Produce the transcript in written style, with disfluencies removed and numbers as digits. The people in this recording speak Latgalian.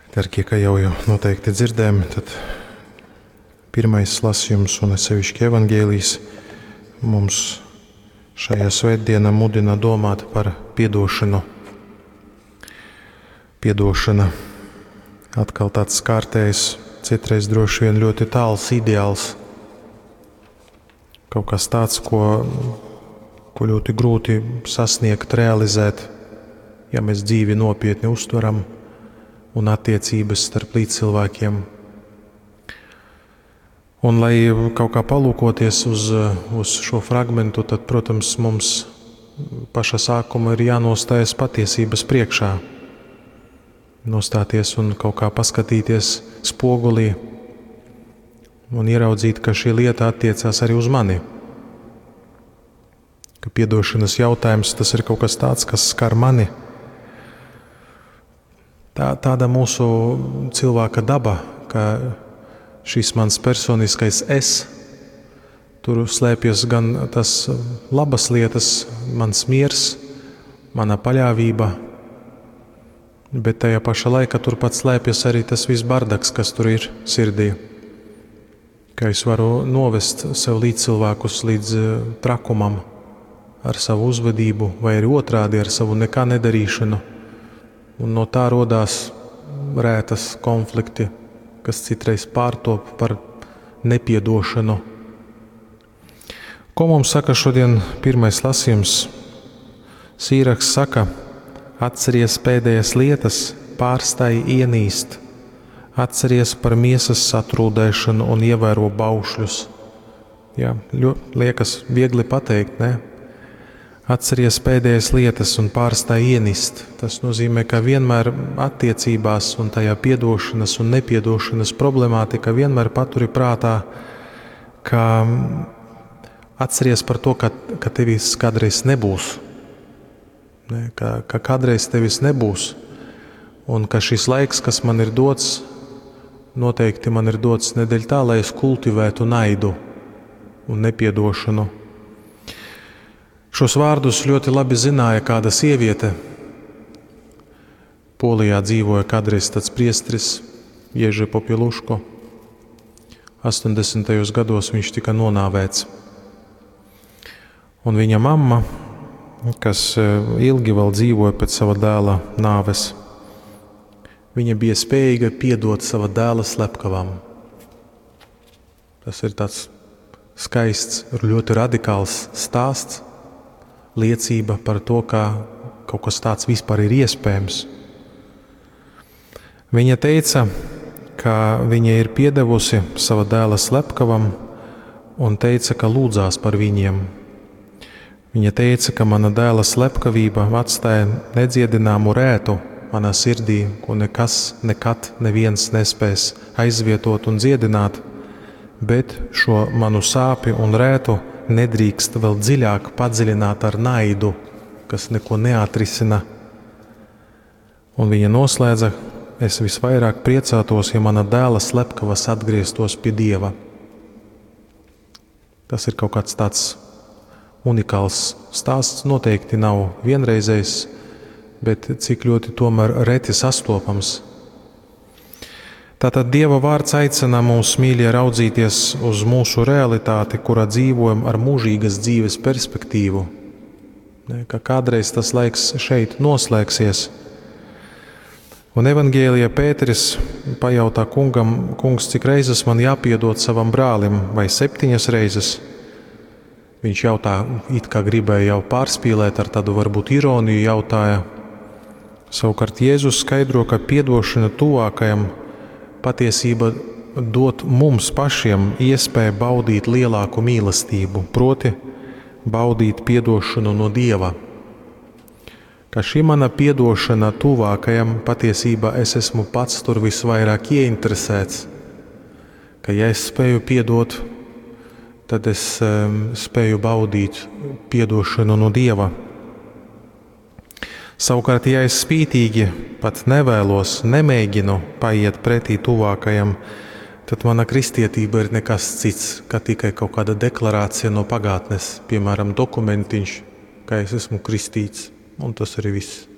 Dargie, kā jau noteikti dzirdējām, tad pirmais lasījums un sevišķi evangēlijs mums šajā svētdienā mudina domāt par piedošanu. Piedošana atkal tāds kārtējs, citreiz droši vien ļoti tāls ideāls. Kaut kas tāds, ko, ko ļoti grūti sasniegt, realizēt, ja mēs dzīvi nopietni uztveram un attiecības starp līdzcilvēkiem. Un, lai kaut kā palūkoties uz, uz šo fragmentu, tad, protams, mums paša sākuma ir jānostājas patiesības priekšā. Nostāties un kaut kā paskatīties spogulī un ieraudzīt, ka šī lieta attiecās arī uz mani. Ka piedošanas jautājums tas ir kaut kas tāds, kas skar mani. Tā, tāda mūsu cilvēka daba, ka šis mans personiskais es, tur slēpjas gan tas labas lietas, mans miers, mana paļāvība, bet tajā pašā laikā turpat slēpjas arī tas viss bardaks, kas tur ir sirdī. Ka es varu novest sev līdzcilvēkus līdz trakumam ar savu uzvedību, vai arī otrādi ar savu nekā nedarīšanu. Un no tā rodās rētas konflikti, kas citreiz pārtop par nepiedošanu. Ko mums saka šodien pirmais lasījums? Sīraks saka, atceries pēdējās lietas, pārstāj ienīst, atceries par miesas satrūdēšanu un ievēro baušļus. Jā, liekas viegli pateikt, ne? Atceries pēdējās lietas un pārstāj ienist. Tas nozīmē, ka vienmēr attiecībās un tajā piedošanas un nepiedošanas problemātika vienmēr paturi prātā, ka atceries par to, ka, ka tevis kādreiz nebūs. Ne, ka, ka kādreiz tevis nebūs. Un ka šis laiks, kas man ir dots, noteikti man ir dots ne dēļ tā, lai es kultivētu naidu un nepiedošanu. Šos vārdus ļoti labi zināja kāda sieviete. Polijā dzīvoja kādreiz tāds priesteris Ježi Popieluško. 80. gados viņš tika nonāvēts. Un viņa mamma, kas ilgi vēl dzīvoja pēc sava dēla nāves, viņa bija spējīga piedot sava dēla slepkavām. Tas ir tāds skaists, ļoti radikāls stāsts, liecība par to, ka kaut kas tāds vispār ir iespējams. Viņa teica, ka viņa ir piedevusi sava dēla slepkavam un teica, ka lūdzās par viņiem. Viņa teica, ka mana dēla slepkavība atstāja nedziedināmu rētu manā sirdī, ko nekas, nekad neviens nespēs aizvietot un dziedināt, bet šo manu sāpi un rētu nedrīkst vēl dziļāk padziļināt ar naidu, kas neko neatrisina. Un viņa noslēdza, es visvairāk priecātos, ja mana dēla slepkavas atgrieztos pie Dieva. Tas ir kaut kāds tāds unikāls stāsts, noteikti nav vienreizējs, bet cik ļoti tomēr reti sastopams. Tātad Dieva vārds aicina mūs, mīļie, raudzīties uz mūsu realitāti, kurā dzīvojam ar mūžīgas dzīves perspektīvu. Ne, ka kādreiz tas laiks šeit noslēgsies. Un evangēlijā Pēteris pajautā kungam, kungs, cik reizes man jāpiedod savam brālim, vai 7 reizes? Viņš jautā, it kā gribēja jau pārspīlēt ar tādu varbūt ironiju jautāja. Savukārt Jēzus skaidro, ka piedošana tuvākajam patiesība dot mums pašiem iespēju baudīt lielāku mīlestību, proti baudīt piedošanu no Dieva. Ka šī mana piedošana tuvākajam patiesībā es esmu pats tur visvairāk ieinteresēts, ka ja es spēju piedot, tad es spēju baudīt piedošanu no Dieva. Savukārt, ja es spītīgi pat nevēlos, nemēģinu paiet pretī tuvākajam, tad mana kristietība ir nekas cits, kā tikai kaut kāda deklarācija no pagātnes, piemēram, dokumentiņš, ka es esmu kristīts, un tas arī viss.